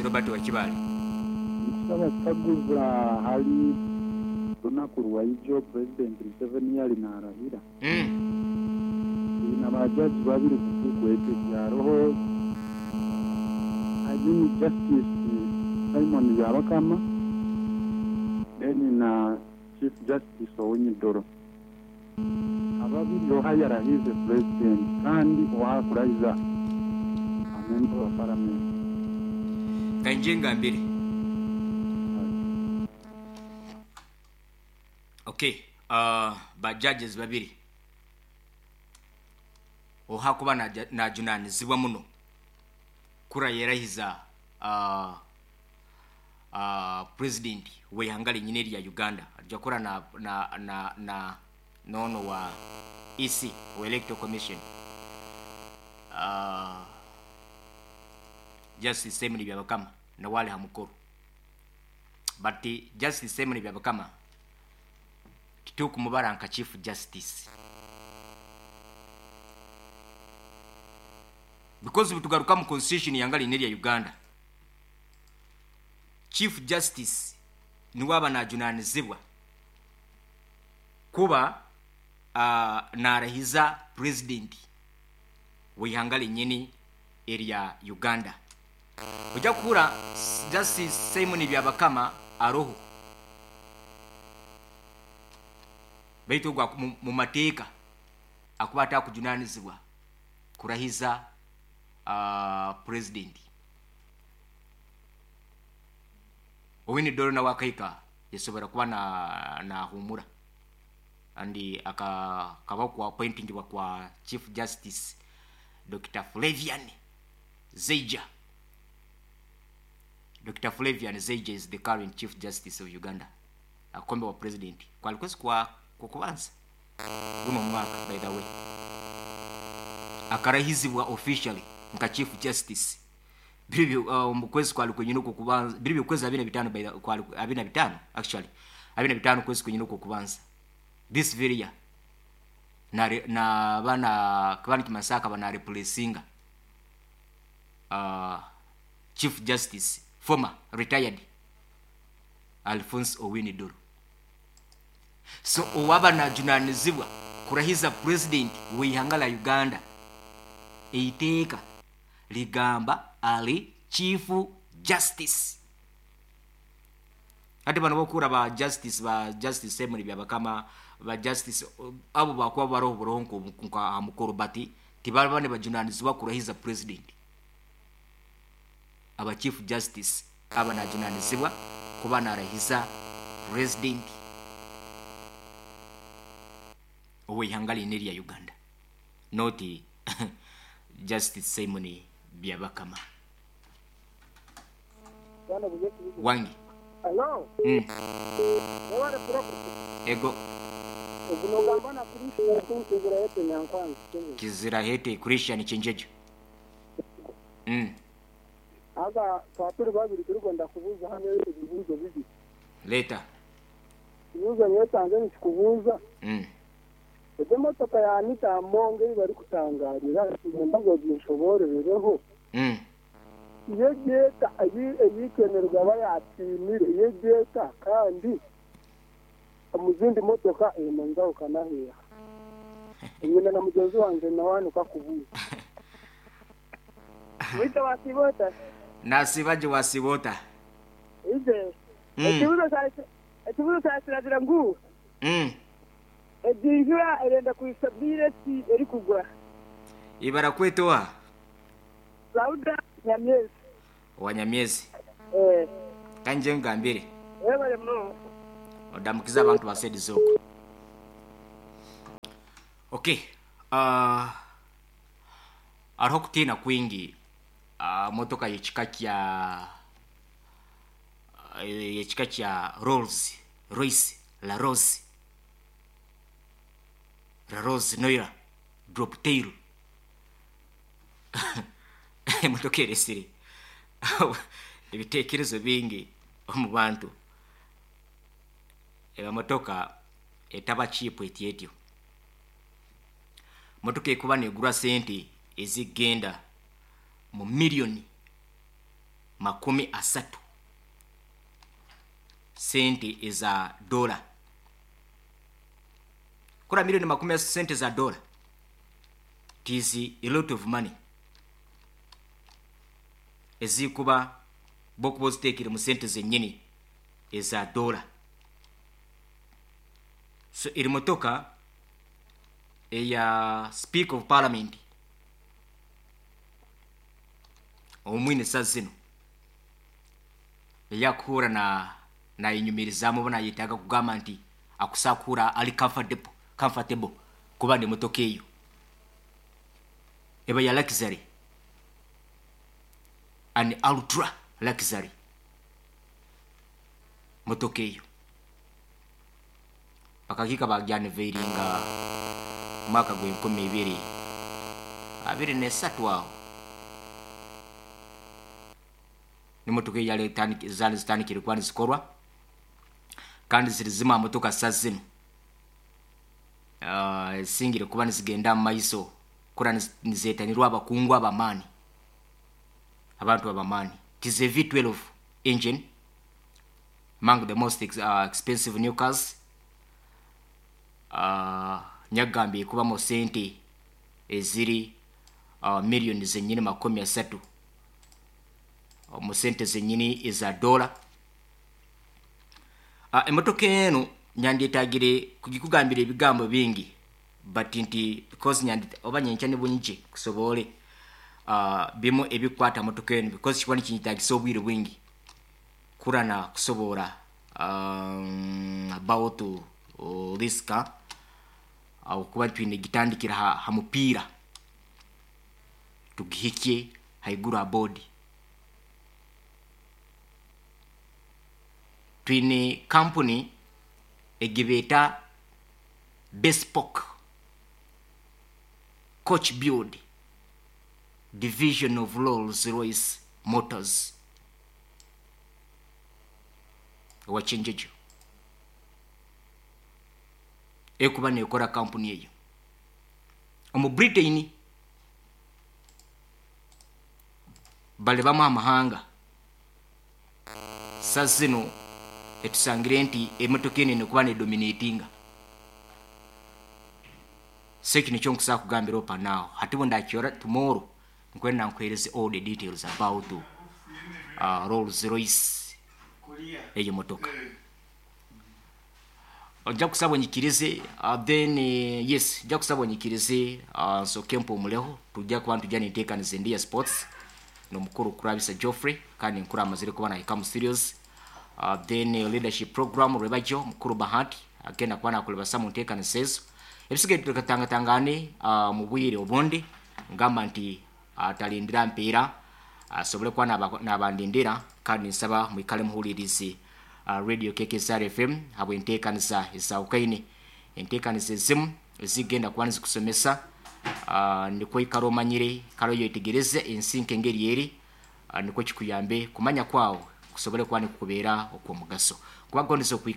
Robert wa Kibaale. Nkusaba kukaguza ahari runaku rwaijo President Museveni yari narahira. Twine ba judge babiri kukwetebya hariho I mean Justice Simon Byabakama then na Chief Justice Owiny-Dollo. Ababiri oha yarahiize Purezidenti kandi oha akurahiza ba memba ba Paramenti. Kanyije ngambire. Ok, ba judges babiri oha akuba najunanizibwa muno kurayerahiza President weihanga rinyine erya Uganda aija kukora na na na na n'ono wa EC owa Electoral Commission Justice Simon Byabakama nawe ari ha mukoro but Justice Simon Byabakama titukumubara nka Chief Justice because bitugaruka omu constitution eihanga riine erya Uganda. Chief Justice niwe aba najunanizibwa kuba narahiza President weihanga rinyini erya Uganda. Oija kuhura Justice Simon Byabakama aroho beitu ogwo mumateeka akuba atakujunanizibwa kurahiza President. Owiny Dollo nawe akahika yasobora kuba nahumura and akabaho ku appointingibwa kwa Chief Justice Dokita Flavian Zeija. Dokita Flavian Zeija is the current Chief Justice of Uganda. Akakombebwa President kwali kwezi kwa Kwokubanza guno omwaka by the way. Akarahizibwa officially nka Chief Justice Biri omu kwezi kwali kwenyini okw'okubanza, biri by'okwezi abiri na bitaano by the kwali abiri na bitaano actually, abiri na bitaano okwezi kwenyini okw'okubanza this very year na naaba na kuba nikimanyisa akaba na replacinga Chief Justice former retired Alfonse Owiny Dollo. So owaaba najunanizibwa kurahiza President w'eihanga rya Uganda eiteeka rigamba ari Chief Justice. Hati banu abokuhurra ba Justice ba Justice Simon Byabakama, ba Justice abo bakuba baroho buroho nka aha mukoro but tibaba nibajunanizibwa kurahiza President. Aba Chief Justice aba najunanizibwa kuba narahiza President ow'eihanga riine erya Uganda not Justice Simon Byabakama. Wangi. Hello. Webale pulogulaamu. Ego. Ogu nogamba na Christian omu Kizirahete Nyankwanzi Kyenjejo. Kizirahete Christian Kyenjejo. Haza twaba turi babiri turikwenda kubuuza hanu ebibuuzo bibiri. Leeta. Ekibuuzo nyowe kyangye nikikubuuza, Egyo emotoka ya Anita Among ei barikutangaarira niinyenda ngu oginshoboororereho. Yo egi eta ei Kainerugaba yaatiinire, yo egi eta kandi omu zindi motoka eine enjawukana heeha? Nyine na mugyenzi wangye nawe nikwo akubuuza. Beitu waasiiba ota? Naasiiba gye waasiiba ota? Ije. Ekibuuzo kyawe kiragira ngu, Egi njura erenda kuhitsya bwire ki erikugwa? Ibara kweta oha? Sauda Nyamyezi. Owa Nyamyezi. Ka ngye nkugambire. Webale munonga. Odamukize abantu ba side z'okwo. Ok, hariho okutiina kwingi aha motoka y'ekika kya y'ekika kya Rolls Royce La Rose, La Rose Noira Drop Tail. Emotoka eretsire ebitekerezo bingi omu bantu. Emotoka etaba cheap etyo etyo. Motoka erikuba negurwa sente ezikugenda mu million. 30 sente eza dola. Kura milioni 30 sente za dola. It is a lot of money. Ezikuba bokuba oziteekire mu sente zennyini eza dola. So eri motoka eya Speaker of Parliament omwine sa zino eyakuhura na nayinyumirizaamu oba nayetaaga kugamba nti akusakuhura ali comfortable kuba n'emotoka eyo eba ya luxury, an ultra luxury motoka eyo. Bakakiika bagyaniveiringa mwaka gw'enkumi ibiri abiri n'esatu aho. N'emotoka eyo zaali zitandikire kuba nizikorwa kandi ziri zimwe aha motoka sa zinu ezisingire kuba nizigenda mu maiso kura nizeetanirwa abakungu ab'amaani, abantu ab'amaani. It is a V12 engine, among the most expensive new cars. Nyagambye ekubamu sente eziri miliyoni zennyini 30 omu sente zennyini eza dola. Emotoka eno nyandyetagire kugikugambira ebigambo bingi, but nti because nyandi oba nyenkya ne bunje kusobole bimu ebikwata motoka eno, because kikuba nikinyetagisa obwire bwingi kurana kusobora about this car. Okuba twine gitandikira ha mupiira tugihikye haiguru ha bodi. Twine kampuni egibeeta Bespoke Coach Build Division of Rolls Royce Motors owa Kyenjojo ekuba nekora kampuni eyo omu Britain. Bali bamu amahanga sa zino etusangire nti emotoka eno enokuba nedominatinga. So ekyo nikyo nkusobola kugambira opa now. Hati bwe ndakyora tomorrow nkwenda nkuhereze all the details about Rolls Royce eyo motoka. Nja kusaba onyikirize, then yes, nja kusaba onyikirize, nsooke mpumuleho. Tujja kuba ntujja nenteekaniza endi ya sports n'omukuru Kurabisa Geoffrey, kandi nkuru amazire kuba nahika mu studios. Then leadership program rwebajo mukuru Bahati agenda kuba nakulebasa mu nteekaniza ezo. Ebisigaye tukatangatangane mu bwire obundi, ngamba nti atalindira mpiira asobole kuba nabandindira, kandi nsaba mwikale muhulirize Radio KKSR FM habw'enteekaniza ezawukaine, enteekaniza ezimu ezigenda kuba nizikusomesa, nikwo ikara omanyire, ikara oyetegereze ensi nk'engeri eri, nikwo kikuyambe kumanya kwawe kusobole kuba nikukubeera okw'omugaso. Kubagondeza okwikara